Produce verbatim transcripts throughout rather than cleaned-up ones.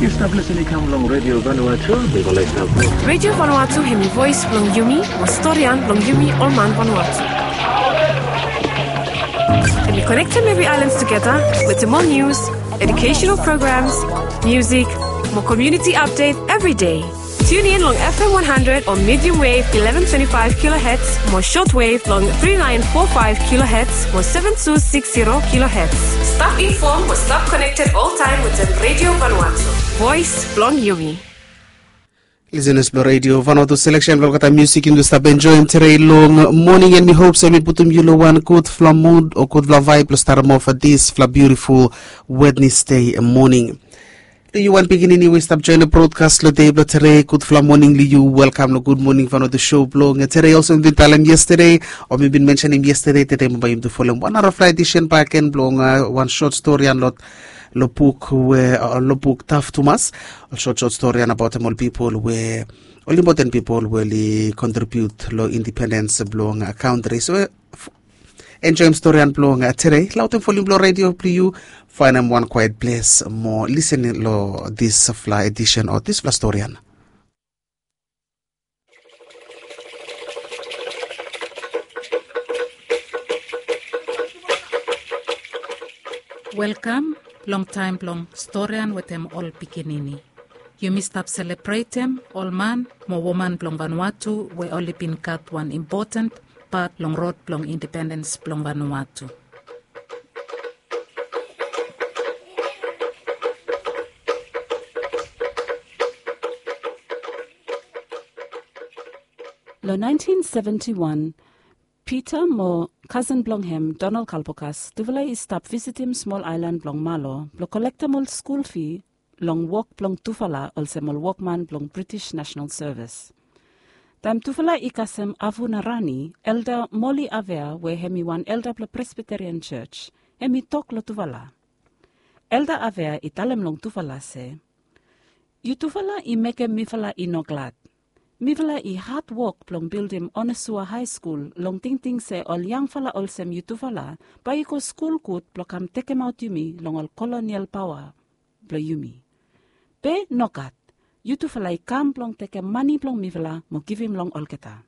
Yu stap lisin i kam long Radio Vanuatu, mi go laik stap. Radio Vanuatu hemi voes blong yumi, mo storian blong yumi ol man Vanuatu. Hemi konektem evri aelan tugeta wetem ol nius, educational programs, music, mo community update evri dei. Tune in long F M one hundred o medium wave eleven twenty-five kilohertz mo short wave long three nine four five kilohertz mo seven two six zero kilohertz. Stap informed mo stap connected all time wetem Radio Vanuatu. Voes blong yumi. Listeners blong Radio Vanuatu, selection blong olgeta music yumi stap enjoyim today long morning, and mi hope se mi putum yu long wan gudfala mood o gudfala vibe blong statem off disfala beautiful Wednesday morning. Long yu wan pikinini we stap join long broadcast long dei blong today, gudfala morning long yu. Welcome long Good Morning Vanuatu show blong today. Olsem mi bin talem yesterday o mi bin mentionem yesterday, today mo bae yumi tu folem wan narafala edition bakegen blong wan short storian long buk we long buk Taf Tumas. Ol short short storian abaotem ol pipol we, ol impoten pipol we oli contribute long independence blong country. So enjoyim storian blong today, laotem volim blong radio blong yu, faenem wan kwaet ples mo lisin long disfala edition o disfala storian. Welkam long taem blong storian wetem ol pikinini. Yumi stap selebretem ol man mo woman blong Vanuatu we oli bin gat wan impoten pat long rod blong independens blong Vanuatu. Long naentin seventi wan, Pita mo kasen blong hem, Donald Kalpokas, tufala i stap visitim smol aelan blong Malo blong kolektem ol skul fi long wok blong tufala olsem ol wokman blong British National Service. Taem tufala i kasem Avu Narani, Elda Moli Avea we hem i wan elda blong Presbyterian Church, hem i tok long tufala. Elda Avea i talem long tufala se, yutufala i mekem mifala i no glad. Mifala i hadwok blong bildim Onesua High School long tingting se ol yangfala olsem yutufala bae i go skul gud blong kam tekemaot yumi long ol kolonial paoa blong yumi. Be nogat, yutufala i kam blong tekem mane blong mifala mo givim long olgeta.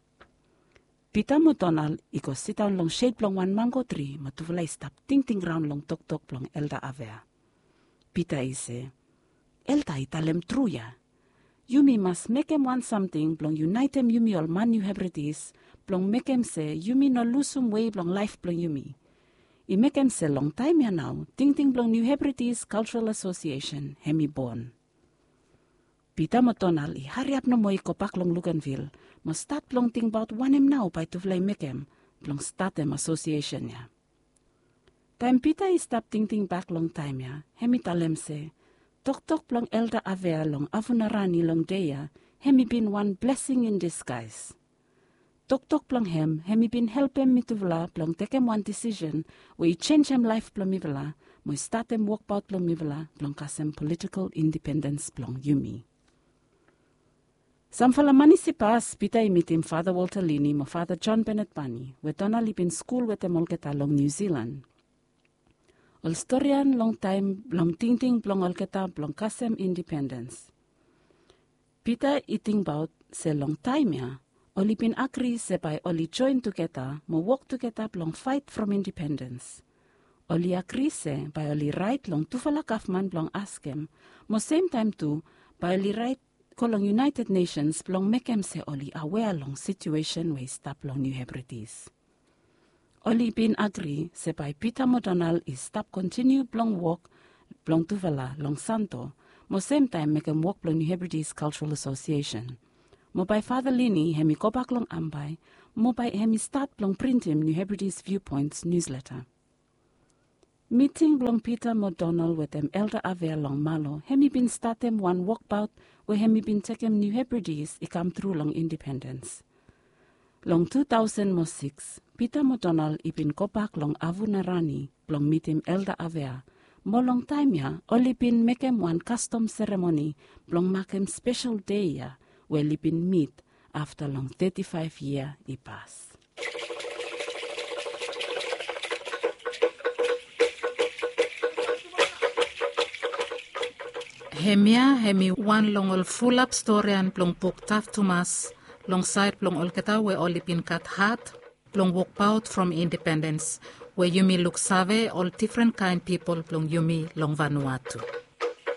Pita mo Donald i go sidaon long shed blong wan mango tri mo tufala i stap tingting raon long toktok blong Elda Avea. Pita i se, Elda i talem tru ya. Yumi mas mekem wan samting blong yunaetem yumi ol man Niu Hebridis blong mekem se yumi no lusum wei blong laef blong yumi. I mekem se long taem ya nao tingting blong Niu Hebridis Cultural Association hem i bon. Pita mo Donald i hariap nomo i gobak long Luganvil mo stat blong tingbaot wanem nao bae tufala i mekem blong statem asosiesen ya. Taem Pita i stap tingting bak long taem ya, hem i talem se, toktok blong Elda Avea long Avu Narani long dei ya, hem i bin wan blessing in disguise. Toktok blong hem hem i bin helpem mitufala blong tekem wan disisen we i jenjem laef blong mifala mo i statem wokbaot blong mifala blong kasem politikol indipendens blong yumi. Samfala manis i pas, Pita i mitim Fata Walter Lini mo Fata John Bennett Bani we Donald i bin skul wetem olgeta long Niu Silan. Ol storian long taem blong tingting blong olgeta blong kasem indipendens. Pita i tingbaot se long taem ya oli bin agri se bae oli joen tugeta mo wok tugeta blong faet from indipendens. Oli agri se bae oli raet long tufala gavman blong askem mo semtaem tu bae oli raet go long United Nations blong mekem se oli awea long situesen we i stap long Niu Hebridis. Oli bin agri se bae Pita mo Donald i stap kontiniu blong wok blong tufala long Santo mo semtaem mekem wok blong Niu Hebridis Kaltural Asosiesen. Mo bae Fata Lini hem i gobak long Ambae mo bae hem i stat blong printim Niu Hebridis Viewpoints niusleta. Miting blong Pita mo Donald wetem Elda Avea long Malo hem i bin statem wan wokbaot we hem i bin tekem Niu Hebridis i kamtru long indipendens. Long tu taosen mo sikis, Pita mo Donald i bin gobak long Avu Narani blong mitim Elda Avea, mo long taem ya oli bin mekem wan kastom seremoni blong makem spesel dei ya we oli bin mit afta long teti faef yia i pas. Hemia hemi wan long ol fulap storian blong buk taf tumas long saed blong olgeta we oli bin gat hat blong wokbaot from independens, we yumi luksave ol difren kaen pipol blong yumi long Vanuatu.